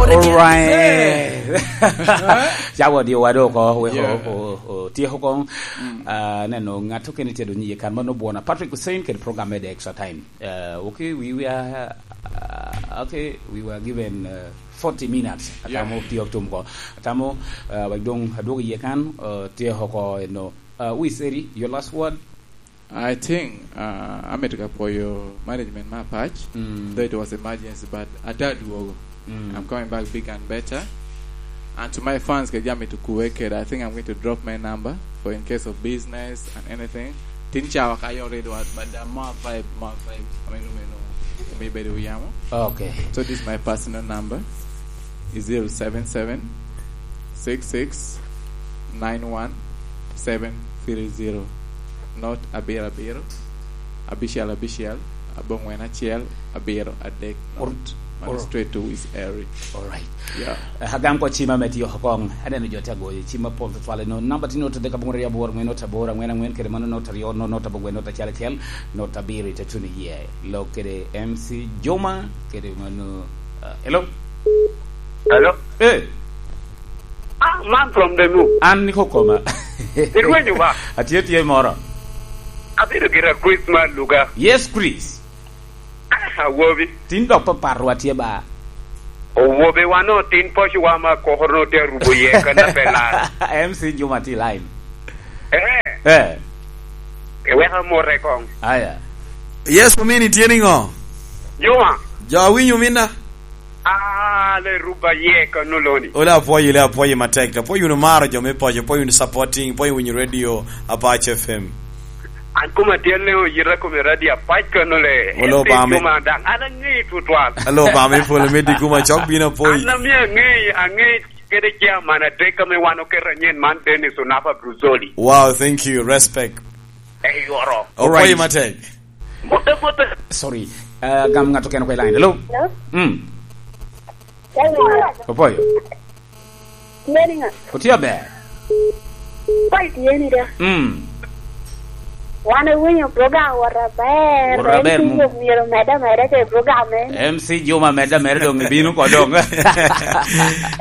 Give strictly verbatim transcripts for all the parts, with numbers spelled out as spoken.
Alright. Cawa odiowa do oko, weko Yeah. o, o, otyeko kong. Ah, neno, ngat okene tye dong iye kan, mano Bwona Patrick Hussein kede program me The Extra Time. Uh, okay, we were, uh, okay, we were given, uh, forty minutes. Yeah. Atamo pio tum ko. Atamo, uh, wek dong adwogo iye kan, uh, tye oko eno. Uh, Wiseri, your last word? I think, uh, amito ka pwoyo management me Apac, Mm. though it was emergency, but ata adwogo. Mm. I'm coming back big and better. And to my fans, kede jami to kuwe kede, I think I'm going to drop my number for in case of business and anything. Tin cawa ka yo redo at, but the more vibe, more vibe. I mean, you know, me bedo yamo. Okay. So this is my personal number. Is zero seven seven six six nine one seven three zero. Not abiro abiro. Abiciel abiciel, abongwen acel, abiro adek. Or, Mano or straight to Wis Eri. All right. Yeah. Eh, agam ko cima me tiyo kong. Aneno jo te agoyo cima pol tutwale no. Namba ti not adek abongwen aryo aboro angwen not aboro angwen angwen, kede mano not aryo not not abongwen not acel acel, not abiro ite tuno iye. Lok kede M C Juma, kede mano, uh, hello? Hello? Eh. Ah, man from the moon. An niko koma. Irwenyo ba? Atye tye moro. Abedo gira Christmas luga. Yes, Chris. Ah, awobi. Tin dok paparwa tye ba? Owobi wano tin poci wa ma kokoro no te arubo ye kana pela. M C Juma ti line. Eh. Eh. Eweka more kong. Aya. Yes, omini tye niŋo? Juma. Jo awinyo mina. Ah, le ruba ye kano loni. Ole apwoyo, le apwoyo matek. Apwoyo wunu maro jo me poco, apwoyo wunu supporting, apwoyo winyo radio Apac F M. An kuma tye le oyita kome radio Apac kano le. Ole Obama. Kuma dang. An angi tutwal. Ole Obama ipolo me di kuma cok bino apwoyo. An ami angi, angi kede chairman adek ame wan oketo anyen man Dennis Onapa Bruzoli. Wow, thank you. Respect. Eyoro. All right. Apwoyo matek. Mute, mute. Sorry. Uh, gam ngato keno kwe line. Hello? Hello? Mm. Hello? Opoyo. Meri nga? Otiyo ber. Koi tye ni da. Mm. Wan ewinyo program wot aber. Wot aber, M C mu- Juma myero medde ameda ke program en. M C Juma medde ameda dong ibino ko dong.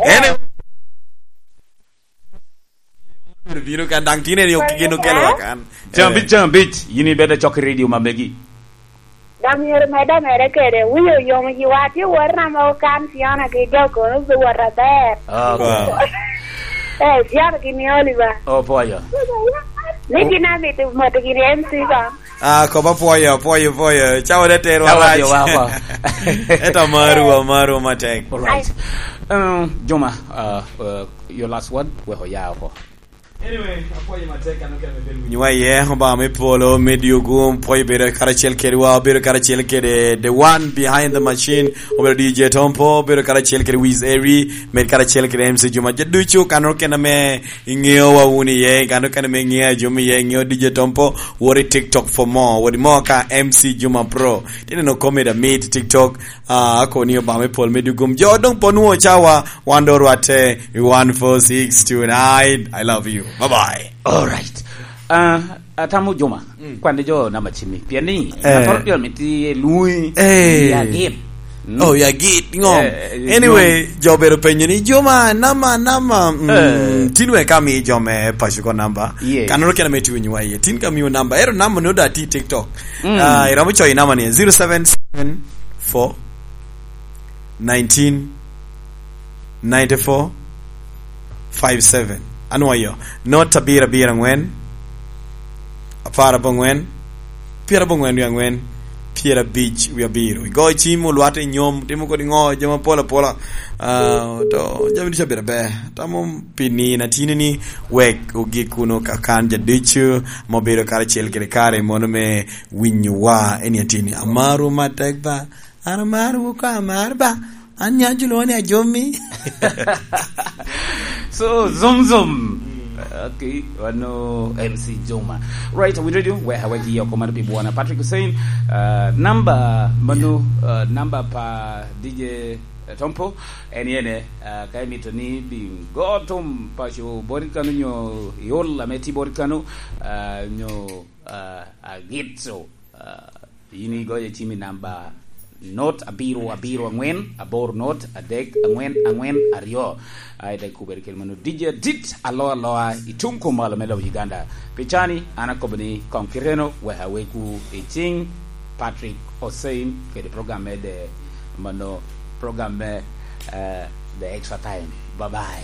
Ene- Bino kan daŋ tin en yo kigeno kelowa kan. Jambic, eh, jambic, yin ibed acok i radio ma megi. Dok myero medde ameda kede, winyo oyomo ji wa, tye wot na ma okan Fiona ki jo kono obi wot aber. Ah, wow. Eh, Fiona ki ni Oliver. Oh, poyo. Ni gin amito moto gini M C ba. Ah, koba pwoyo, pwoyo, pwoyo. Cawa de tero arac. Cawa de wa, wa. Eto amaru, amaru matek. All right. Um, Juma, uh, uh, your last word, we oya oko. Anyway, apwoyo matek, an okene me bedo winyowa iye, Obama me polo, me dyogo, pwoyo bedo karacel kedwa, obedo karacel kede the one behind the machine, obedo D J Tompo, obedo karacel kede Wiz Eri, med karacel kede M C Juma. Jo ducu, kan okene me Iŋeo wa wun iye, kan okene me iŋeo a jo me iye, iŋeo D J Tompo, wot i TikTok for more, wot i mo ka M C Juma Pro. Tye neno komedi amit i TikTok, ah, ako ni Obama i pol me dugum. Jo doŋ po nwoŋo cawa, wan doŋ orwatte i one four six two nine. I love you. Bye bye. All right. Ah, atamo Juma, mm, kwan ni jo namba cimmi. Pien ni, eh, atoro pien miti luŋi, eh, ya gin. Mm. Oh, ya git, ŋo? Eh, eh, anyway, jo obedo penyo ni, "Juma, nama, nama, mm, eh, tin wek ami jo me paco ko namba." Yes. Kan oro kena me tye winyowa iye. Tin ka miyo namba. Ero namba ni oda ti TikTok. Mm. Ah, iromo coyo namba ni, zero seven seven four nineteen ninety-four five seven. Anwoyo, not abiro abiro angwen, apar abongwen, pyera abongwen wie angwen, pyera abic wie abiro. Igo cim, olwate i nyom, timo kodi ŋo, jami apol apola. Ah, to jami ducu abedo aber. Tamo pi nino atini ni wek ogik kuno kakan ja ducu ma obedo karacel kede kare mono me winyowa. Eni atini. Amaru matek ba. An amaro wu ka amar ba. An nyo ajulo ni ajomi. So, zum, zum. Okay, wano M C Juma. Right, we radio, we hawa gi yoko mano pi bwana Patrick Hussein. Uh, number, mano, uh, number pa D J Tompo, en yene, uh, ka imito ni bingo tum paco bori kano nyo iol ame ti bori kano, uh, nyo, uh, agitso, uh, Yin igoyo cim i namba not abiro abiro angwen abor not adek angwen angwen aryo. Ai, dek kubere kel mano D J adit alo aloa i tung kumalo me lobo Uganda. Pi cani, an akobo ni kong kiteno wek aweku i cing Patrick Hussein kede program me de mano program me, eh, The Extra Time. Bye bye.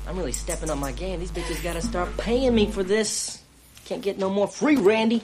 I'm really stepping up my game. These bitches gotta start paying me for this. Can't get no more free Randy.